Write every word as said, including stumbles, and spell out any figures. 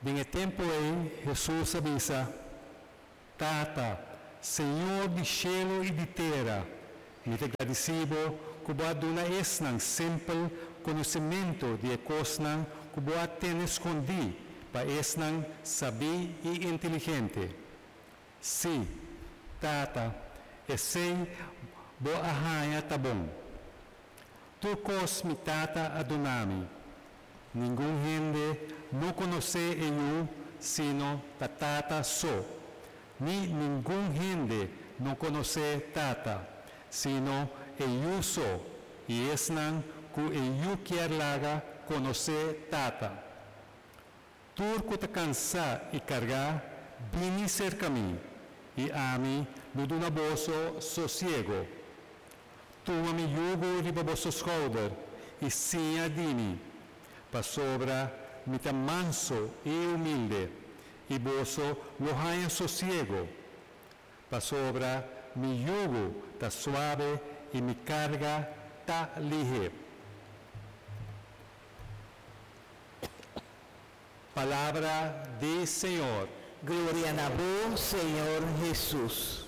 Den e tempu ei Hesus a bisa, Tata, Señor di shelu i di tera, mi ta gradisí bo ku bo a duna esnan simpel konosementu di e kosnan ku bo a tene skondí pa esnan sabí i inteligente. Sí, Tata, esei bo a haña ta bon. Tur kos mi Tata a duna mi. Ningun hende no konosé e Yu sino ta Tata so, ni ningun hende no konosé Tata, sino e Yu so, i esnan ku e Yu kier laga konosé Tata. Tur ku ta kansá i kargá, bini serka mi, i ami lo duna boso sosiego. Tuma mi yugo riba boso skouder i siña di mi, pasobra mi ta mansu i humilde, i boso lo haña sosiego. Pasobra mi yugo ta suave i mi karga ta lihé. Palabra di Señor. Gloria na bo, Señor Hesus.